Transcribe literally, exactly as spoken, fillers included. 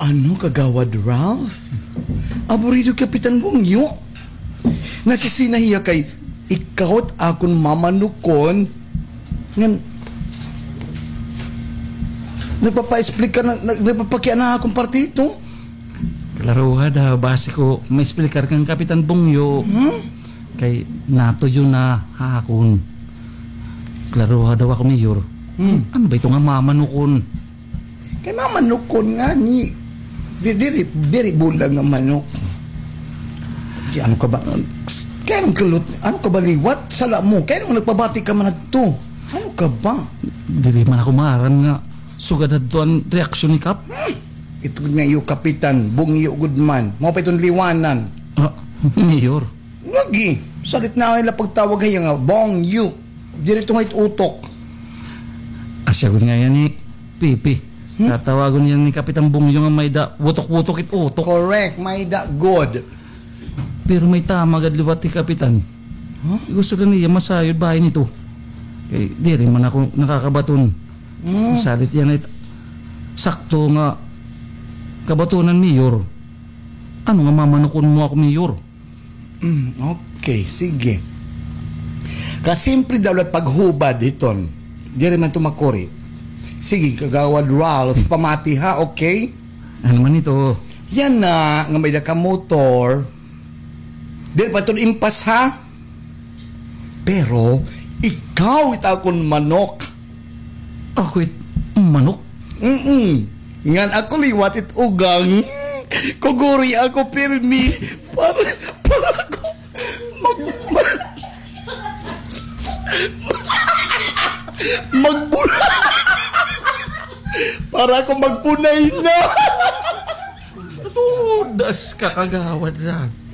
Ano, Kagawad Ralph? Aburido Kapitan Bungyo. Nasisina hiya kay ikaw it akon mamanukon. Ngan, nagpapa-explain ka na, nag-, nagpapakiana akon partito. Klaruha daw, basi ko ma-explicar kan Kapitan Bungyo. Hmm? Kay natuyo na ha akon. Klaruha daw ako, Mayor. Hmm. Ano ba ito nga mamanukon? Kay mamanukon ngani. Di-, diri, diri bulag nga manok. Di, ano ka ba? Kay anong kulot? Ano ka ba liwat? Sala mo. Kay anong nagpabati ka man adto? Ano ka ba? Diri man ako maaram nga sugad adto an reaksyon ni Kap. Hmm. Ito nga iyo kapitan, Bungyo gud man. Mao pa iton liwanan. Ah, Mayor. Lagi, salit na ila pagtawag hiya nga Bongyo. Diri to nga it utok. Asya gud nga yan ni Pipi. Hmm? Tatawagon yan ni Kapitan Bongyo nga may da wutok-wutok it utok. Correct, may da good. Pero may tama gad liwat ni Kapitan. Huh? Gusto na niya masayod bahin ito. Kay diri man ako nakakabaton. Hmm. Salit yan it sakto nga kabatonan, Mayor. Ano nga mamanukon mo ako, Mayor? Mm, okay, sige. Kasimple daw la it paghubad hiton. Diri man to makuri. Sige, Kagawad Ralph, pamati ha, okay? Ano man ito? Yan na, nga may da ka motor. Diri pa ito impas ha? Pero, ikaw it akon manok. Ako it manok? Mm-mm. Ngan ako liwat it ugang. Kuguri ako pirmi. Para, para ko mag-, mag-, magbula. Para ako magbunay na. Tudas ka, Kagawad Ralph.